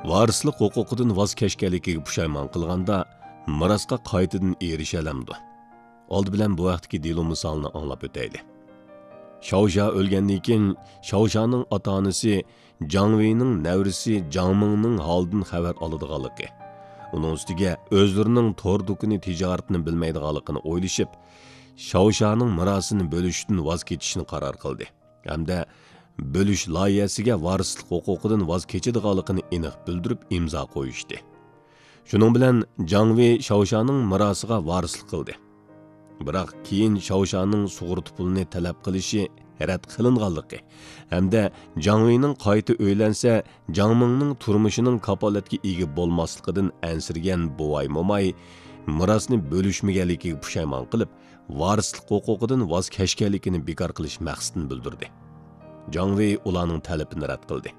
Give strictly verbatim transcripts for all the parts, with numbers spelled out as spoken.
ۋارىسلىق ھوقۇقىدىن ۋاز كەچكەنلىكىگە پۇشايمان قىلغاندا، مىراسقا قايتىدىن ئېرىشەلەمدۇ؟ ئالدى بىلەن بۇ ھەقتىكى دېلو مىسالىنى ئاڭلاپ ئۆتەيلى. شاۋشا ئۆلگەندىن كېيىن، شاۋشانىڭ ئاتا-ئانىسى جاڭ ۋېينىڭ نەۋرىسى جاڭ مىڭنىڭ ھالىدىن خەۋەر ئالىدىغانلىقى، ئۇنىڭ ئۈستىگە ئۆزلىرىنىڭ تور دۇكىنى تىجارىتىنى بىلمەيدىغانلىقىنى ئويلىشىپ، شاۋشانىڭ مىراسىنى بۆلۈشتىن ۋاز كېچىشنى قارار قىلدى. ھەمدە بۆلۈش لايىھەسىگە ۋارىسلىق ھوقۇقىدىن ۋاز كېچىدىغانلىقىنى ئېنىق بىلدۈرۈپ ئىمزا قويۇشتى. شۇنىڭ بىلەن جاڭ ۋېي شاۋشانىڭ مىراسىغا ۋارىسلىق قىلدى. بىراق كېيىن شاۋشانىڭ سۇغۇرتا پۇلىنى تەلەپ قىلىشى رەت قىلىنغانلىقى ھەمدە جاڭ ۋېينىڭ قايتا ئۆيلەنسە، جاڭ مىڭنىڭ تۇرمۇشىنىڭ كاپالەتكە ئىگە بولماسلىقىدىن ئەنسىرىگەن بوۋاي موماي مىراسنى بۆلۈشمىگەنلىكىگە پۇشايمان قىلىپ، ۋارىسلىق ھوقۇقىدىن ۋاز كەچكەنلىكىنى بىكار قىلىش مەقسىتىنى بىلدۈردى. جاڭ ۋېي ئۇلارنىڭ تەلىپىنى رەت قىلدى.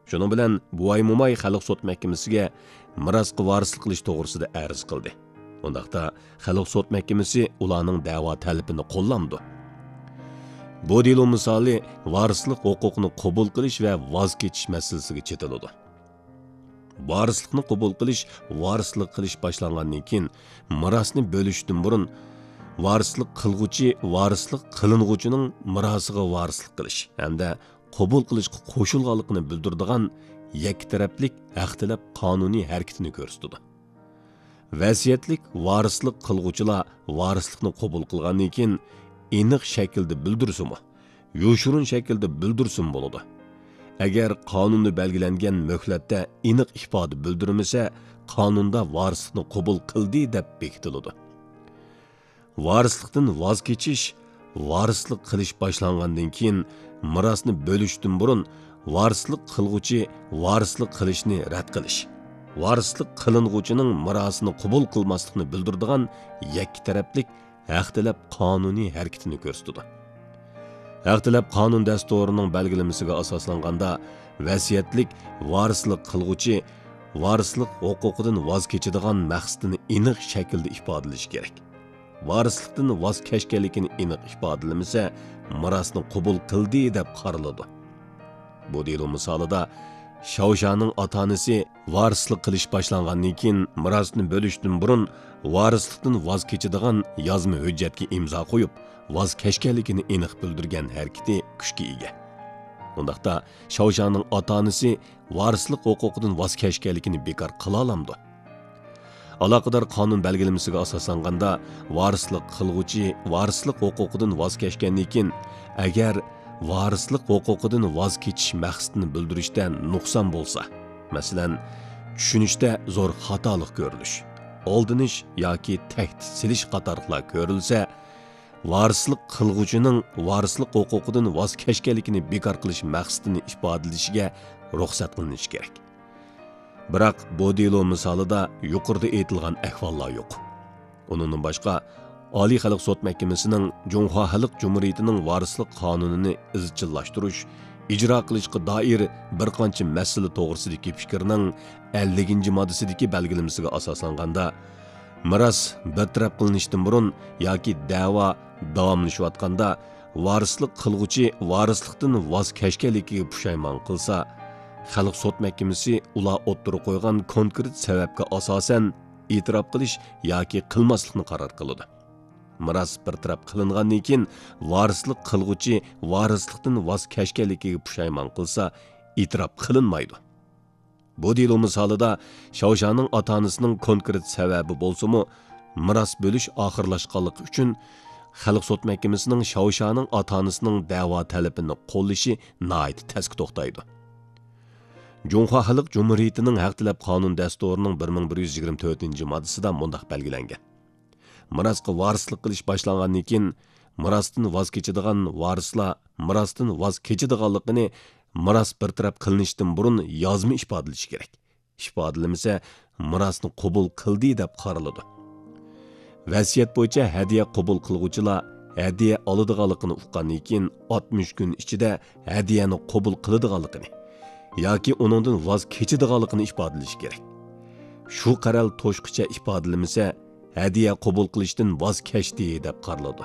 شۇنىڭ بىلەن بوۋاي موماي خەلق سوت مەھكىمىسىگە مىراسقا ۋارىسلىق قىلىش توغرىسىدا ئەرز قىلدى. ئۇنداقتا خەلق سوت مەھكىمىسى ئۇلارنىڭ دەۋا تەلىپىنى قوللامدۇ؟ بۇ دېلو مىسالى ۋارىسلىق ھوقۇقىنى قوبۇل قىلىش ۋە ۋاز كېچىش مەسىلىسىگە چېتىلىدۇ. ۋارىسلىقنى قوبۇل قىلىش، ۋارىسلىق قىلىش باشلانغاندىن كېيىن، مىراسنى بۆلۈشتىن بۇرۇن، ۋارىسلىق قىلغۇچى ۋارىسلىق قىلىنغۇچىنىڭ مىراسىغا ۋارىسلىق قىلىش ھەمدە قوبۇل قىلىشقا قوشۇلغانلىقىنى بىلدۈرىدىغان يەككە تەرەپلىك ھەق تەلەپ قانۇنىي ھەرىكىتىنى كۆرسىتىدۇ. ۋەسىيەتلىك ۋارىسلىق قىلغۇچىلار ۋارىسلىقنى قوبۇل قىلغاندىن كېيىن، ئېنىق شەكىلدە بىلدۈرسىمۇ، يوشۇرۇن شەكىلدە بىلدۈرسىمۇ بولىدۇ. ئەگەر قانۇندا بەلگىلەنگەن مۆھلەتتە ئېنىق ئىپادە بىلدۈرمىسە، قانۇندا ۋارىسلىقنى قوبۇل قىلدى دەپ بېكىتىلىدۇ. ۋارىسلىقتىن ۋاز كېچىش، ۋارىسلىق قىلىش باشلانغاندىن كېيىن، مىراسنى بۆلۈشتىن بۇرۇن، ۋارىسلىق قىلغۇچى ۋارىسلىق قىلىشنى رەت قىلىش، ۋارىسلىق قىلىنغۇچىنىڭ مىراسىنى قوبۇل قىلماسلىقنى بىلدۈرىدىغان يەككە تەرەپلىك ھەق تەلەپ قانۇنىي ھەرىكىتىنى كۆرسىتىدۇ. ھەق تەلەپ قانۇن دەستۇرىنىڭ بەلگىلىمىسىگە ئاساسلانغاندا، ۋەسىيەتلىك ۋارىسلىق قىلغۇچى ۋارىسلىق ھوقۇقىدىن ۋاز كېچىدىغان مەقسىتىنى ئېنىق شەكىلدە ئىپادىلىشى كېرەك. ۋارىسلىقتىن ۋاز كەچكەنلىكىنى ئېنىق ئىپادىلىمىسە، مىراسنى قوبۇل قىلدى دەپ قارىلىدۇ. بۇ دېلو مىسالىدا شاۋشانىڭ ئاتا-ئانىسى ۋارىسلىق قىلىش باشلانغاندىن كېيىن، مىراسنى بۆلۈشتىن بۇرۇن ۋارىسلىقتىن ۋاز كېچىدىغان يازما ھۆججەتكە ئىمزا قويۇپ، ۋاز كەچكەنلىكىنى ئېنىق بىلدۈرگەن ھەرىكىتى كۈچكە ئىگە. ئۇنداقتا، شاۋشانىڭ ئاتا-ئانىسى ۋارىسلىق ھوقۇقىدىن ۋاز كەچكەنلىكىنى بىكار قىلالامدۇ؟ ئالاقىدار قانۇن بەلگىلىمىسىگە ئاساسلانغاندا، ۋارىسلىق قىلغۇچى ۋارىسلىق ھوقۇقىدىن ۋاز كەچكەندىن كېيىن، ئەگەر ۋارىسلىق ھوقۇقىدىن ۋاز كېچىش مەقسىتىنى بىلدۈرۈشتە نۇقسان بولسا، مەسىلەن، چۈشىنىشتە زور خاتالىق كۆرۈلۈش، ئالدىنىش ياكى تەھدىت سېلىش قاتارلىقلار كۆرۈلسە، ۋارىسلىق قىلغۇچىنىڭ ۋارىسلىق ھوقۇقىدىن ۋاز كەچكەنلىكىنى بىكار قىلىش مەقسىتىنى ئىپادىلىشىگە رۇخسەت قىلىنىشى كېرەك. بىراق بۇ دېلو مىسالىدا يۇقىرىدا ئېيتىلغان ئەھۋاللار يوق. ئۇنىڭدىن باشقا، ئالىي خەلق سوت مەھكىمىسىنىڭ جۇڭخۇا خەلق جۇمھۇرىيىتىنىڭ ۋارىسلىق قانۇنىنى ئىزچىللاشتۇرۇش، ئىجرا قىلىشقا دائىر بىر قانچە مەسىلە توغرىسىدىكى پىكرىنىڭ ئەللىكىنچى ماددىسىدىكى بەلگىلىمىسىگە ئاساسلانغاندا، مىراس بىر تەرەپ قىلىنىشتىن بۇرۇن ياكى دەۋا داۋاملىشىۋاتقاندا، ۋارىسلىق قىلغۇچى ۋارىسلىقتىن ۋاز كەچكەنلىكىگە پۇشايمان قىلسا، خەلق سوت مەھكىمىسى ئۇلار ئوتتۇرىغا قويغان كونكرېت سەۋەبكە ئاساسەن ئېتىراپ قىلىش ياكى قىلماسلىقنى قارار قىلىدۇ. مىراس بىر تەرەپ قىلىنغاندىن كېيىن، ۋارىسلىق قىلغۇچى ۋارىسلىقتىن ۋاز كەچكەنلىكىگە پۇشايمان قىلسا، ئېتىراپ قىلىنمايدۇ. بۇ دېلو مىسالىدا شاۋشانىڭ ئاتا-ئانىسىنىڭ كونكرېت سەۋەبى بولسىمۇ، مىراس بۆلۈش ئاخىرلاشقانلىقى ئۈچۈن خەلق سوت مەھكىمىسىنىڭ شاۋشانىڭ ئاتا-ئانىسىنىڭ دەۋا تەلىپىنى قوللىشى ناھايىتى تەسكە توختايدۇ. جۇڭخۇا خەلق جۇمھۇرىيىتىنىڭ ھەق تەلەپ قانۇن دەستۇرىنىڭ بىر مىڭ بىر يۈز يىگىرمە تۆتىنچى ماددىسىدا مۇنداق بەلگىلەنگەن: مىراسقا ۋارىسلىق قىلىش باشلانغاندىن كېيىن، مىراستىن ۋاز كېچىدىغان ۋارىسلار مىراستىن ۋاز كېچىدىغانلىقىنى مىراس بىر تەرەپ قىلىنىشتىن بۇرۇن يازما ئىپادىلىشى كېرەك. ئىپادىلىمىسە، مىراسنى قوبۇل قىلدى دەپ قارىلىدۇ. ۋەسىيەت بويىچە ھەدىيە قوبۇل قىلغۇچىلار ھەدىيە ئالىدىغانلىقىنى ئۇققاندىن كېيىن، ئاتمىش كۈن ئىچىدە ھەدىيەنى قوبۇل قىلىدىغانلىقىنى ياكى ئۇنىڭدىن ۋاز كېچىدىغانلىقىنى ئىپادىلىشى كېرەك. شۇ قەرەل توشقىچە ئىپادىلىمىسە، ھەدىيە قوبۇل قىلىشتىن ۋاز كەچتى دەپ قارىلىدۇ.